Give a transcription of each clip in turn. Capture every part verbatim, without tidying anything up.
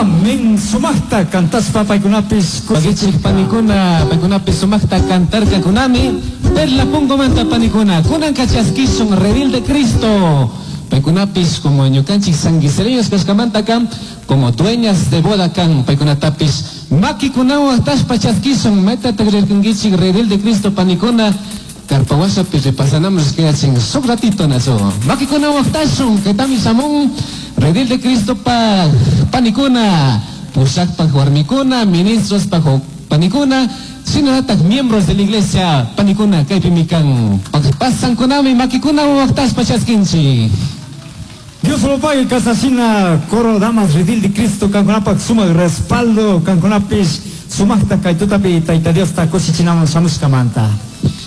Amén. Sumaqta cantaspa paykunapis Pakichik panikuna, paykunapis sumaqta cantarkakunami, Perla Pongomanta panikuna, kunanka chaskishun Redil de Cristo. Paykunapis como ñukanchik sanguisereños kashkamanta kan, como dueñas de boda kan, paykunatapis makikunawan waqtashpa chaskishun, maytataq rirkankichik Redil de Cristo panikuna, Karpawashapi repasanamos kayachin suk ratito naso. Makikunawan waqtashun, kaytami shamun, Redil de Cristo pa panikuna, pushakpak warmikuna, ministros pa panikuna, shinallatak miembros de la iglesia panikuna kaypimi kan. Pasankunami makikunawan waqtashpa chaskinchik. Dios lo pague kasashina coro damas redil de Cristo kankunapak sumaq respaldo kankunapis sumaqta kay tutapi Tayta Diosta kushichinaman shamushkamanta.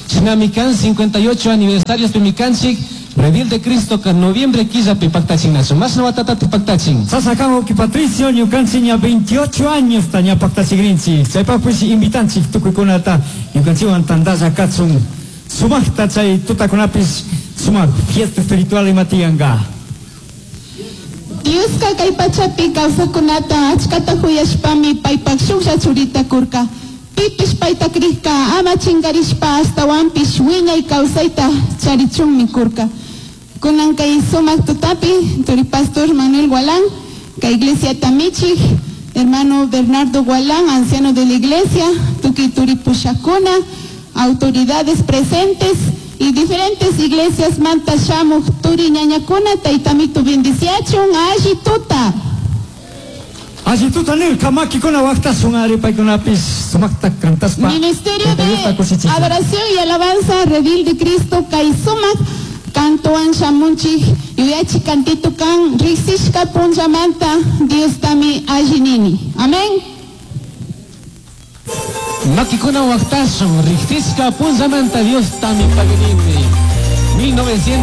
Shinami kan cincuenta y ocho aniversarios pimikanchik, Redil de Cristo ka noviembre killapi paktachinachu. Mashna watatati paktachin? Sasakan uki Patricio ñukanchik ña veintiocho años ta ña paktachigrinchik. Chaypaqpis invitanchik tukuykunata ñukanchikwan tantalla kachun sumaqta chay tutakunapis sumaq fiesta espiritual ima tiyanka. Dioska kay pachapi kawsaqkunata achkata huyashpami paypak shuklla churita kurka. Pipish payta krikka ama chinkarishpa ashtawanpish wiñay kawsayta charichunmi kurka. Kunan kay sumaq tutapi, turi pastor Manuel Gualán, kay iglesia michik, hermano Bernardo Gualán, anciano de la iglesia, tukuy turi pushakuna, autoridades presentes y diferentes iglesias manta shamuj turi ñañakuna, taytamitu bendiciachun, alli tuta. Alli tuta nirka makikuna waqtasun ari paykunapis sumaqta cantaspa. Ministerio Tayta Diosta de kushichichun. Adoración y Alabanza Redil de Cristo kay sumaq kantuwan shamunchik yuyachi kantito kan riksishka punllamanta Diostami alli nini. Amén. Makikuna waqtashun, riksishka punllamanta Diostami paginini. mil novecientos